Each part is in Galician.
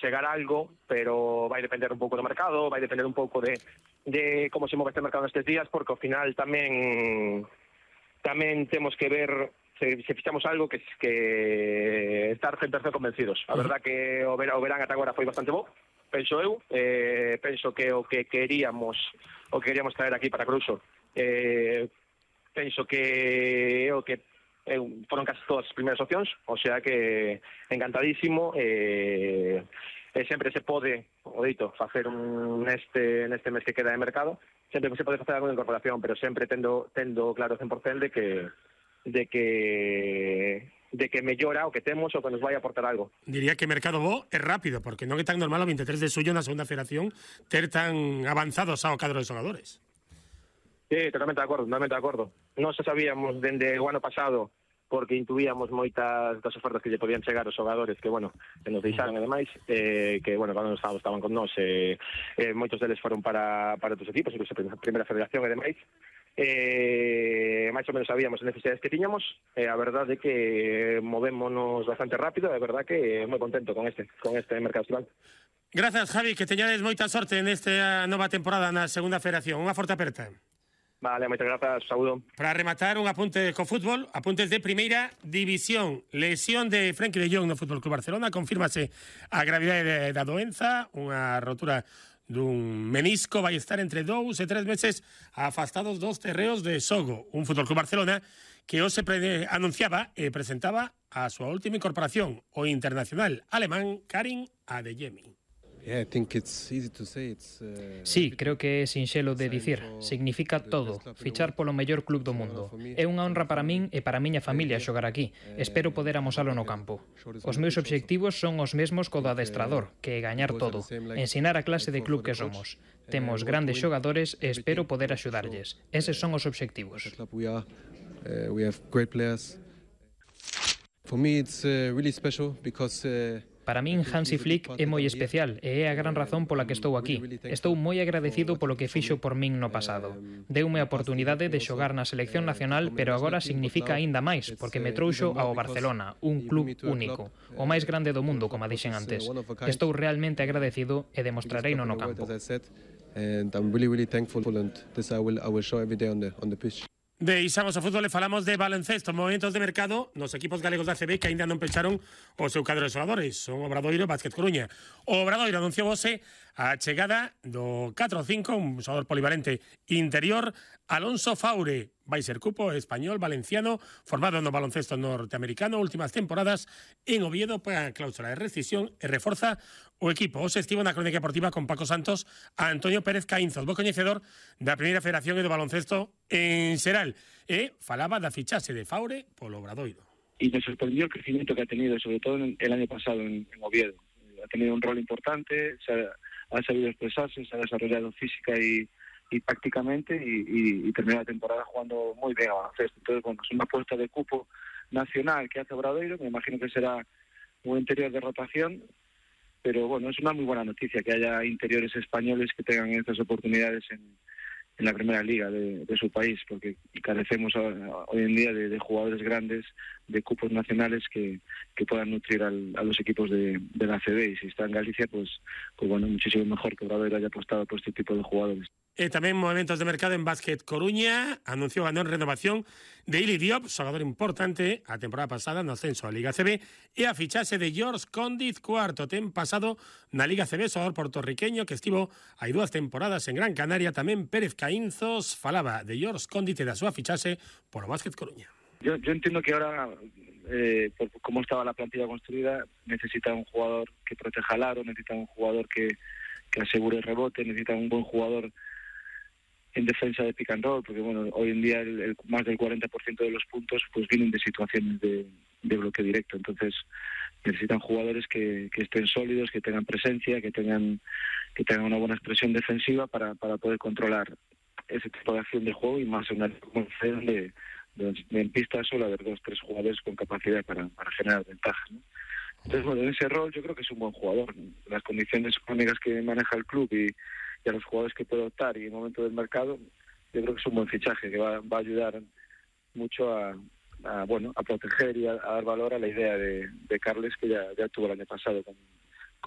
chegar algo, pero vai depender un pouco do mercado, vai depender un pouco de como se move este mercado nestes días, porque ao final tamén temos que ver se fichamos algo que estar 100% convencidos. A verdad que o verán ata agora foi bastante bo, penso eu, penso que o que queríamos traer aquí para Cruzo, penso que foron casi todas as primeiras opcións, o sea que encantadísimo, sempre se pode, o dito, facer neste mes que queda de mercado, sempre se pode facer alguna incorporación, pero sempre tendo claro 100% de que mellora o que temos o que nos vai aportar algo. Diría que mercado bo é rápido, porque non é tan normal o 23 de xullo na segunda federación ter tan avanzados ao cadro de xogadores. Sí, totalmente de acordo. Non se sabíamos dende o ano pasado, porque intuíamos moitas das ofertas que lle podían chegar os xogadores que nos deixaron e demais, que cando estaban con nós, moitos deles foron para outros equipos, incluso a primeira federación e demais. Máis ou menos sabíamos as necesidades que tiñamos, a verdade é que movémonos bastante rápido, é verdade que moi contento con este mercado estival. Grazas, Javi, que teñades moita sorte nesta nova temporada na segunda federación. Unha forte aperta. Vale, moitas grazas, saúdo. Para rematar, un apunte co fútbol, apuntes de primeira división. Lesión de Frenkie de Jong no Fútbol Club Barcelona, confírmase a gravidade da doenza, unha rotura dun menisco, vai estar entre 2 e 3 meses afastados dos terreos de Sogo. Un Fútbol Club Barcelona que hoxe anunciaba e presentaba a súa última incorporación, o internacional alemán Karim Adeyemi. Sí, creo que é sinxelo de dicir. Significa todo, fichar polo mellor club do mundo. É unha honra para min e para a miña familia xogar aquí. Espero poder amosalo no campo. Os meus obxectivos son os mesmos co do adestrador, que é gañar todo, ensinar a clase de club que somos. Temos grandes xogadores e espero poder axudarlles. Eses son os obxectivos. For me it's really special because Para min, Hansi Flick é moi especial e é a gran razón pola que estou aquí. Estou moi agradecido polo que fixo por min no pasado. Deume a oportunidade de xogar na selección nacional, pero agora significa aínda máis, porque me trouxo ao Barcelona, un club único, o máis grande do mundo, como dixen antes. Estou realmente agradecido e demostrareino no campo. Deixamos o fútbol e falamos de baloncesto, movimentos de mercado nos equipos galegos da ACB que aínda non pecharon o seu cadro de xogadores. Son Obradoiro e Básquet Coruña. O Obradoiro anunciou hoxe a chegada do 4-5, un xogador polivalente interior, Alonso Faure. Vai ser cupo español, valenciano, formado no baloncesto norteamericano, últimas temporadas en Oviedo para a cláusula de rescisión e reforza o equipo. Hoxe estivo na crónica deportiva con Paco Santos a Antonio Pérez Caínzos, bo coñecedor da Primeira Federación e do baloncesto en xeral, e falaba da fichaxe de Faure polo Obradoiro. Y me sorprendió el crecimiento que ha tenido, sobre todo el año pasado en Oviedo. Ha tenido un rol importante, ha sabido expresarse, se ha desarrollado física y tácticamente y terminó la temporada jugando muy bien a baloncesto. Entonces, bueno, es una apuesta de cupo nacional que hace Obradoiro, me imagino que será un interior de rotación, pero bueno, es una muy buena noticia que haya interiores españoles que tengan estas oportunidades en la primera liga de su país, porque carecemos hoy en día de jugadores grandes, de cupos nacionales que puedan nutrir a los equipos de la ACB, y si está en Galicia, pues bueno, muchísimo mejor que Obradoiro haya apostado por este tipo de jugadores. Tamén movimentos de mercado en Básquet Coruña, anunciou a non renovación de Ili Diop, xogador importante a temporada pasada no ascenso a Liga CB, e a fichaxe de George Condiz, cuarto ten pasado na Liga CB, xogador portorriqueño que estivo hai 2 temporadas en Gran Canaria. Tamén Pérez Caínzos falaba de George Condiz e da súa fichaxe polo Básquet Coruña. Yo entiendo que ahora, por cómo estaba la plantilla construida, necesita un jugador que proteja el aro, necesita un jugador que asegure el rebote, necesita un buen jugador en defensa de pick and roll, porque bueno, hoy en día más del 40% de los puntos pues vienen de situaciones de bloque directo. Entonces necesitan jugadores que estén sólidos, que tengan presencia, que tengan una buena expresión defensiva para poder controlar ese tipo de acción de juego, y más en una acción de en pista solo haber 2-3 jugadores con capacidad para generar ventajas, ¿no? Entonces, bueno, en ese rol yo creo que es un buen jugador. Las condiciones económicas que maneja el club y a los jugadores que puede optar y el momento del mercado, yo creo que es un buen fichaje que va a ayudar mucho a proteger y a dar valor a la idea de Carles, que ya tuvo el año pasado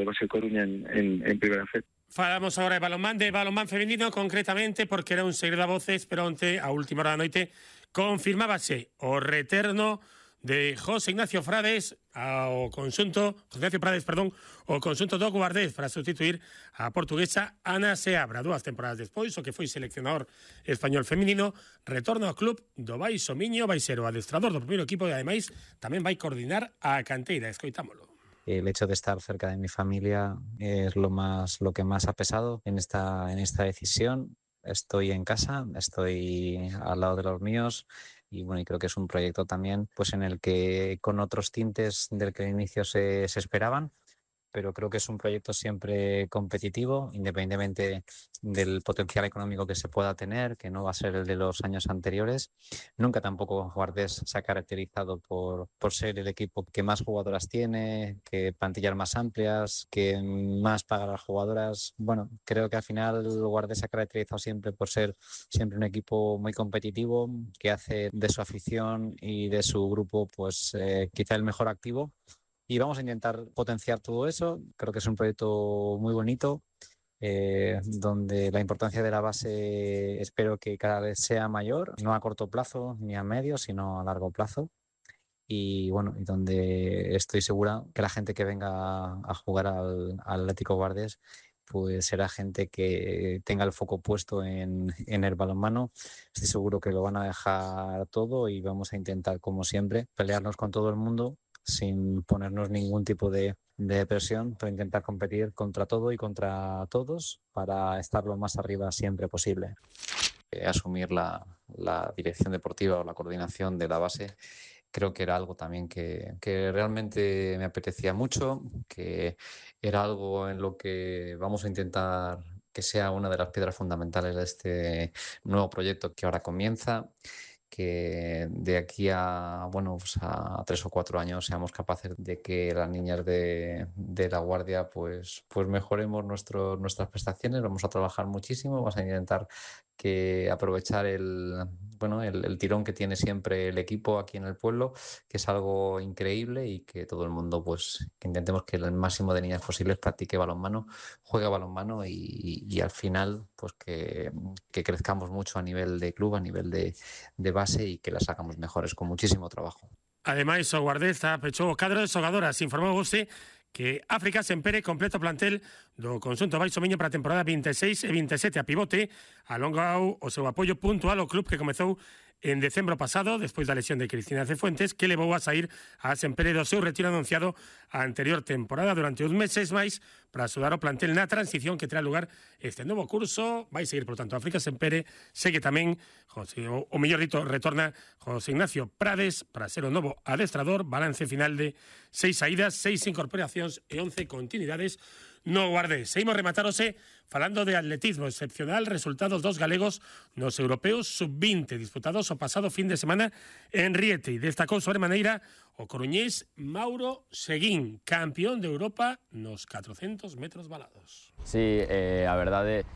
Básquet Coruña en Primera Fed. Falamos agora de balonmán feminino, concretamente porque era un segredo a voces, pero onte, a última hora da noite, confirmábase o retorno de José Ignacio Prades ao conxunto do Guardés para sustituir a portuguesa Ana Seabra. 2 temporadas despois, o que foi seleccionador español feminino, retorno ao club do Baixo Miño, vai ser o adestrador do primeiro equipo e ademais tamén vai coordinar a canteira. Escoitámolo. El hecho de estar cerca de mi familia es lo que más ha pesado en esta decisión. Estoy en casa, estoy al lado de los míos y bueno, y creo que es un proyecto también pues en el que con otros tintes del que al inicio se esperaban, pero creo que es un proyecto siempre competitivo, independientemente del potencial económico que se pueda tener, que no va a ser el de los años anteriores. Nunca tampoco Guardés se ha caracterizado por ser el equipo que más jugadoras tiene, que plantillas más amplias, que más paga a las jugadoras. Bueno, creo que al final Guardés se ha caracterizado siempre por ser siempre un equipo muy competitivo, que hace de su afición y de su grupo pues quizá el mejor activo. Y vamos a intentar potenciar todo eso. Creo que es un proyecto muy bonito, donde la importancia de la base espero que cada vez sea mayor, no a corto plazo ni a medio, sino a largo plazo. Y bueno, y donde estoy segura que la gente que venga a jugar al Atlético Guardés pues será gente que tenga el foco puesto en el balonmano. Estoy seguro que lo van a dejar todo y vamos a intentar, como siempre, pelearnos con todo el mundo sin ponernos ningún tipo de presión, pero intentar competir contra todo y contra todos para estar lo más arriba siempre posible. Asumir la dirección deportiva o la coordinación de la base creo que era algo también que realmente me apetecía mucho, que era algo en lo que vamos a intentar que sea una de las piedras fundamentales de este nuevo proyecto que ahora comienza, que de aquí a, bueno, pues a 3 o 4 años seamos capaces de que las niñas de La Guardia pues mejoremos nuestras prestaciones. Vamos a trabajar muchísimo, vamos a intentar que aprovechar el tirón que tiene siempre el equipo aquí en el pueblo, que es algo increíble, y que todo el mundo pues que intentemos que el máximo de niñas posibles practique balonmano, juegue balonmano y al final pues que crezcamos mucho a nivel de club, a nivel de base, y que las hagamos mejores con muchísimo trabajo. Ademais, o Guardés pechou o cadro de xogadoras. Informou vosté que África Sempere completa o plantel do conxunto Baixo Miño para a temporada 26 e 27. A pivote alongou o seu apoio puntual ao club que comezou en decembro pasado, despois da lesión de Cristina Cefuentes, que levou a sair a Sempere do seu retiro anunciado a anterior temporada durante uns meses máis para axudar o plantel na transición que terá lugar este novo curso. Vai seguir, por tanto, África Sempere. Segue tamén o mellor dito, retorna José Ignacio Prades para ser o novo adestrador. Balance final de 6 saídas, 6 incorporacións e 11 continuidades no Guardés. Seguimos rematarose falando de atletismo. Excepcional resultados dos galegos nos europeos sub-20 disputados o pasado fin de semana en Riete. Destacou sobremaneira o coruñés Mauro Seguín, campeón de Europa nos 400 metros valados. Sí, a verdade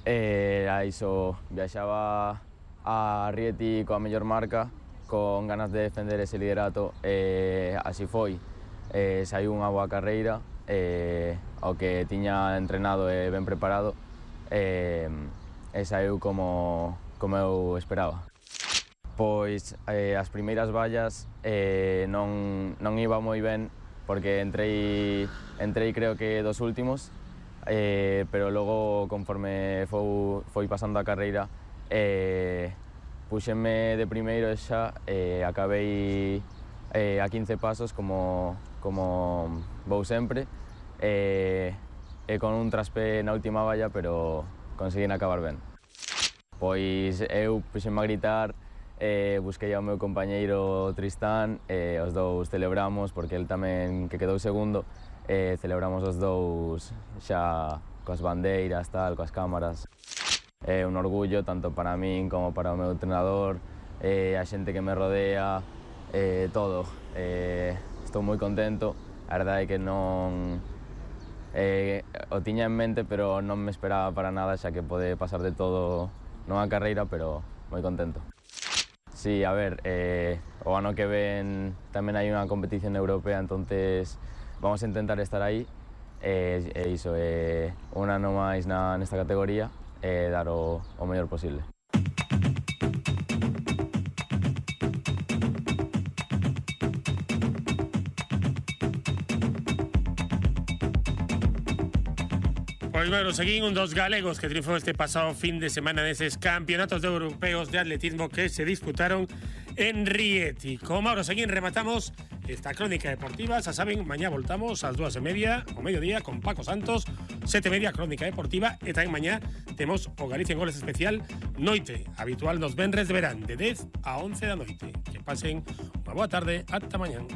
era iso, viaxaba a Rieti coa mellor marca, con ganas de defender ese liderato, así foi. Saiu unha boa carreira, ao que tiña entrenado e ben preparado, e saiu como eu esperaba. Pois as primeiras vallas non iba moi ben, porque entrei creo que dos últimos, pero logo conforme foi pasando a carreira puxenme de primeiro e xa acabei a 15 pasos como vou sempre, e con un traspé na última valla, pero conseguín acabar ben. Pois eu puxenme a gritar, busquei ao meu compañeiro Tristán, os dous celebramos, porque el tamén que quedou segundo, celebramos os dous xa coas bandeiras, tal, coas cámaras. É un orgullo tanto para min como para o meu entrenador, a xente que me rodea, todo. Estou moi contento, a verdade é que non o tiña en mente, pero non me esperaba para nada, xa que pode pasar de todo nunha carreira, pero moi contento. Sí, a ver, o ano que ven tamén hai unha competición europea, entonces vamos a intentar estar aí, iso, un ano máis nesta categoría e dar o mellor posible. Pois bueno, seguín un dos galegos que triunfou este pasado fin de semana neses campeonatos europeos de atletismo que se disputaron en Rieti. Con Mauro Seguín rematamos esta crónica deportiva. Xa saben, mañá voltamos ás 2:30 o mediodía con Paco Santos, 7:30 crónica deportiva, e tamén mañá temos o Galicia en Goles especial noite, habitual nos venres de verán, de 10 a 11 da noite. Que pasen unha boa tarde, ata mañán.